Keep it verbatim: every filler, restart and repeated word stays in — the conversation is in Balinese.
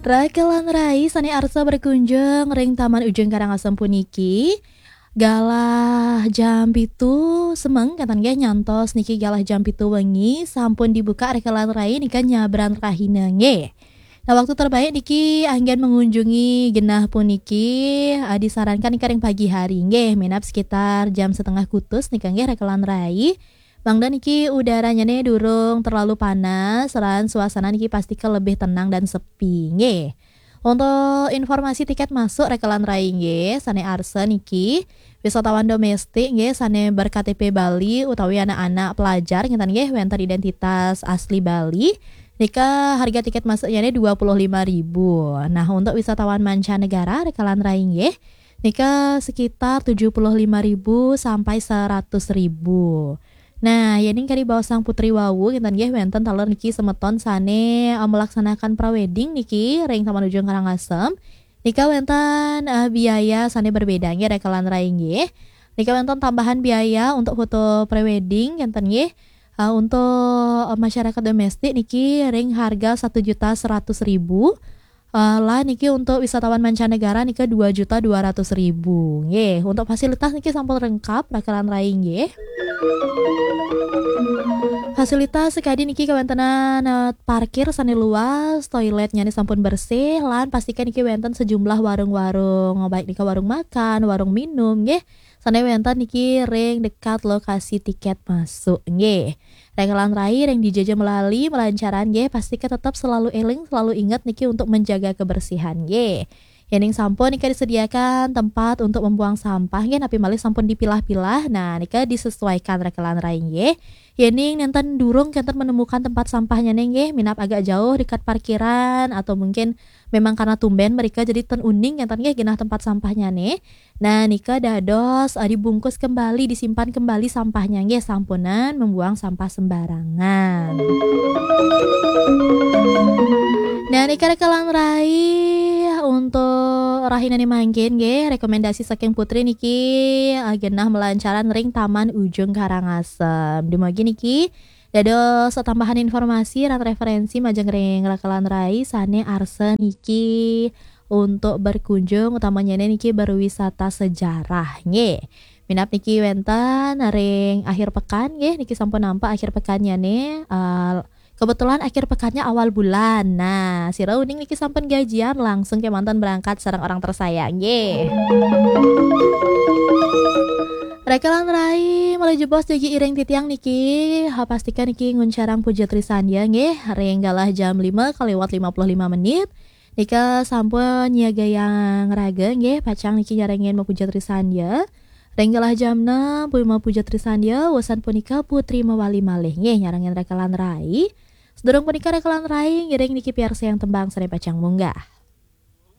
Rakelan rai sane arsa berkunjung ring Taman Ujung Karangasem puniki, galah jam pitu semeng, kenten nggih, nyantos niki galah jam pitu wengi sampun dibuka rakelan rai nika nyabran rahina nggih. Nah, waktu terbaik niki anggen mengunjungi genah puniki, eh, disarankan nika ring pagi hari nggih, minab sekitar jam setengah kutus nika nggih rakelan rai. Mangda niki udaranyane durung terlalu panas, lan suasana niki pastika lebih tenang dan sepi nggih. Untuk informasi tiket masuk rakelan rai nggih, sane arsa niki wisatawan domestik nggih, sane ber-K T P Bali utawi anak-anak pelajar ngenten nggih, wenten identitas asli Bali. Nika harga tiket masuknyane dua puluh lima ribu. Nah, untuk wisatawan mancanegara rakelan rai nggih, nika sekitar tujuh puluh lima ribu sampai seratus ribu. Nah, yening kadi baosang Putri wau, ngenten nggih, wenten taler niki semeton sane, eh, melaksanakan prewedding niki ring Taman Ujung Karangasem. Nika wenten, eh, biaya sane berbeda nggih, rakelan rai nggih. Nika wenten tambahan biaya untuk foto prewedding, ngenten nggih. Eh, untuk, eh, masyarakat domestik niki ring harga satu juta seratus ribu. Eh, lah niki untuk wisatawan mancanegara nika dua juta dua ratus ribu. Nggih, untuk fasilitas niki sampun lengkap, rakelan rai nggih. Fasilitas sekadi niki kawentenan, eh, parkir sane luas, toiletnyane sampun bersih, lan pastikan niki wenten sejumlah warung-warung, baik nika warung makan, warung minum nggih. Sane wenten niki ring dekat lokasi tiket masuk nggih. Rakelan rai ring dija ja melali melancaran nggih, pastika tetap selalu eling, selalu ingat niki untuk menjaga kebersihan nggih. Yening sampun nika disediakan tempat untuk membuang sampah nggih, napi malih sampun dipilah-pilah, nah nika disesuaikan rakelan rai nggih. Yening nenten durung kenten menemukan tempat sampahnyane nggih, minab agak jauh dekat parkiran atau mungkin memang karena tumben mereka jadi ten uning kenten nggih genah tempat sampahnyane. Nah, nika dados, eh, dibungkus kembali, disimpan kembali sampahnya nggih, sampunang membuang sampah sembarangan. Nah, nika rakelan rai untuk rahinane mangkin nggih, rekomendasi saking Putri niki, eh, genah melancaran ring Taman Ujung Karangasem. Dumugi niki dados tambahan informasi lan referensi majeng ring rakelan rai sane arsa niki untuk berkunjung, utamanyane niki berwisata sejarah nggih. Minab niki wenten ring akhir pekan nggih, niki sampun nampak akhir pekannyane, eh, kebetulan akhir pekannya awal bulan. Nah, sira uning niki sampun gajian, langsung kemanten berangkat sareng orang tersayang nggih. Rakelan rai, malih jebos jagi iring titiang niki, ha, pastikan niki nguncarang Puja Trisandya nggih, ring galah jam lima kaliwat lima puluh lima menit. Nika sampun nyiagayang raga nggih, pacang niki nyarengin mapuja Trisandya. Ring galah jam enam, Putri mapuja Trisandya, wusan punika Putri mawali malih nggih, nyarengin rakelan rai. Sedurung punika rakelan rai, ngiring niki piarsayang tembang sane pacang munggah.